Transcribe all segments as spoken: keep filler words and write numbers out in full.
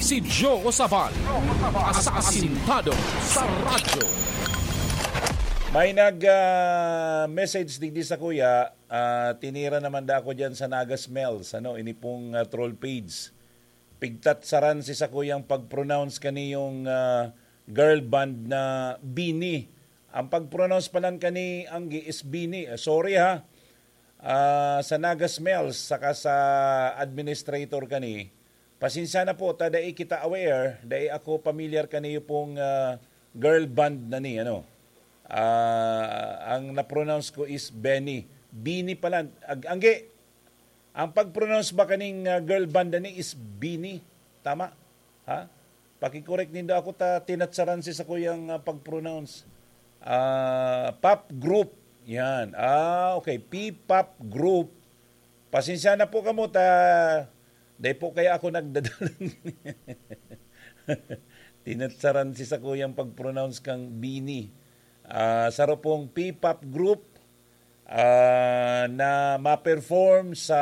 Si Joe Sabal, asasintado sa radyo. May nag, ah, message digdi sa kuya, ah, tinira naman da ako diyan sa Naga Smells, ano, ini pong, ah, troll page. Pigtatsaran si sakuyang pag-pronounce kaniyong, ah, girl band na Bini. Ang pag-pronounce palan kani, Anggi, is Bini. Ah, sorry ha. Ah, sa Naga Smells, saka sa administrator kani, pasensya na po, ta dai kita aware, dai ako pamilyar kaniyo pong, ah, girl band na ni, ano. Ah, ang na-pronounce ko is Benny. Bini pala. Ag-, Anggi, ang pag-pronounce ba kaning, ah, girl band na ni is Bini? Tama? Ha? Paki-correct nindo ako ta tinatsaran si sakuyang, ah, pag-pronounce. Ah, pop group. Yan. Ah, okay. P-pop group. Pasensya na po kamo ta dai po kaya ako nagdadalan. Tinatsaran si sakuyang pag-pronounce kang Bini. Ah, saro pong P-pop group, ah, na ma-perform sa,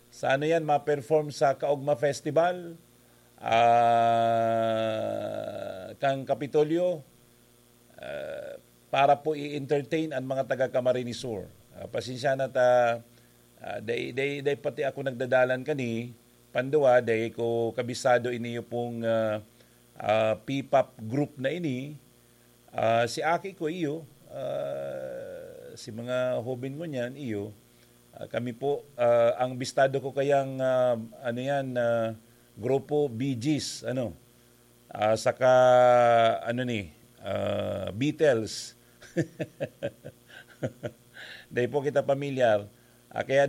sa ano yan, ma-perform sa Kaugma Festival, ah, kang Kapitolyo, ah, para po i-entertain ang mga taga Camarines Sur. Ah, pasensya na ta, ah, dai, dai, dai pati ako nagdadalan kani, pandua, dai ko kabisado iniyo pong, ah, ah, P-pop group na ini. Ah, si aki ko iyo, ah, si mga hoben ngunyan iyo, ah, kami po, ah, ang bistado ko kayang, ah, ano yan, ah, grupo Bee Gees, ano, ah, saka, ano ni, ah, Beatles. Dai po kita pamilyar. Ah, kaya